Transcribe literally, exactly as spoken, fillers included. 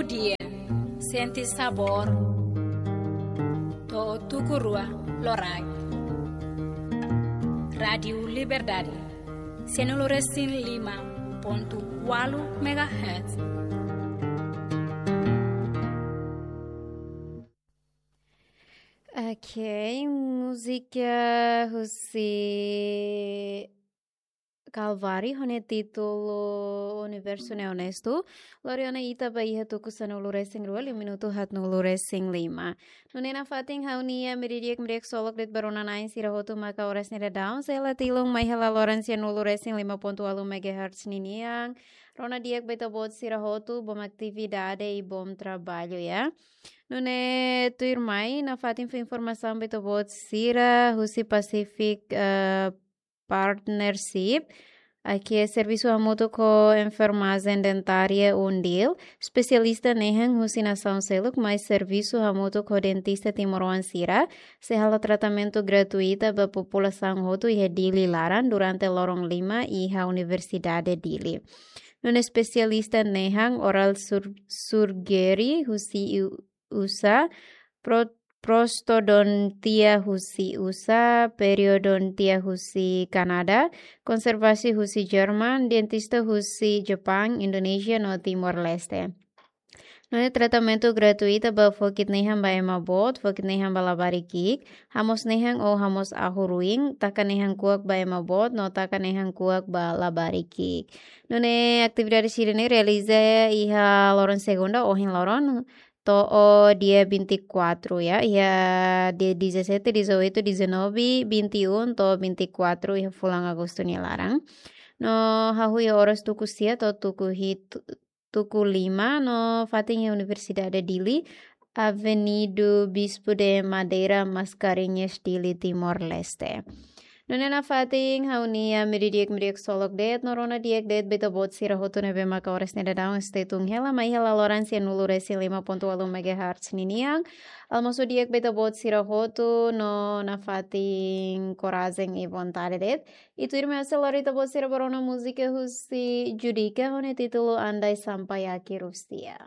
Dia, sente sabór to'o tuku rua loraik. Rádiu Liberdade, sianulu resin lima pontu ualu megahertz. Ok, múzika husi Kalvari, ho nia títulu Universu Ne'e Onestu, lori ona ita ba iha tuku sanulu resin rua, liu minutu haatnulu resin lima. Nune'e nafatin ha'u-nia meiudia di'ak, meiudia di'ak ksolok de'it ba rona-na'in sira hotu maka oras ne'e daudaun, sei la tilun mai hela loron sianulu resin lima pontu ualu megahertz ninian. Rona di'ak ba ita-boot sira hotu, bom atividade i bom trabalho, ya. Nune'e tuirmai, nafatin fó informasaun ba ita-boot sira husi Pacific, eh, Partnership, ke servisu hamutuk ho enfermajen dentária UNDIL, espesialista nehan husi nasaun seluk mai servisu hamutuk ho dentista timoroan sira, sei halo tratamentu gratuita ba populasaun hotu iha Dili laran durante loron lima iha Universidade Dili. Nune'e espesialista nehan oral sur-, surgery husi U-, U S A, pro-, prostodontia husi U S A, periodontia husi Kanadá, konservasi husi Jerman, dentista husi Jepang, Indonézia no Timor-Leste. Nune'e tratamentu gratuita ba fokit nehan ba ema boot, fokit nehan ba labarik ki'ik, hamoos nehan ou hamoos ahu ruin, taka nehan kuak ba ema boot, no taka nehan kuak ba labarik ki'ik. Nune'e atividade sira-ne'e realiza iha loron segunda, ohin loron, to'o dia vinte e quatro, ya, iha dia dezassete, dezoito, dezanove, vinte e um, to'o vinte e quatro, iha fulan Agostu nia laran. No hahú iha oras tuku sia to'o tuku hitu, tuku lima, no fatin iha Universidade Dili, Avenida Bispo de Madeira, Mascarenhas, Dili, Timor-Leste. Nune'e nafatin ha'u-nia meiudia di'ak, meiudia di'ak ksolok de'it, no rona di'ak de'it ba ita-boot sira hotu ne'ebé maka oras ne'e daudaun stay tune hela, mai hela loron sianulu resin lima pontu ualu megahertz ninian. Almosu di'ak ba ita-boot sira hotu, no nafatin korajen i vontade de'it. I tuirmai ha'u sei lori ita-boot sira ba rona múzika husi Judika ho nia títulu Andai Sampai Akhir Usia.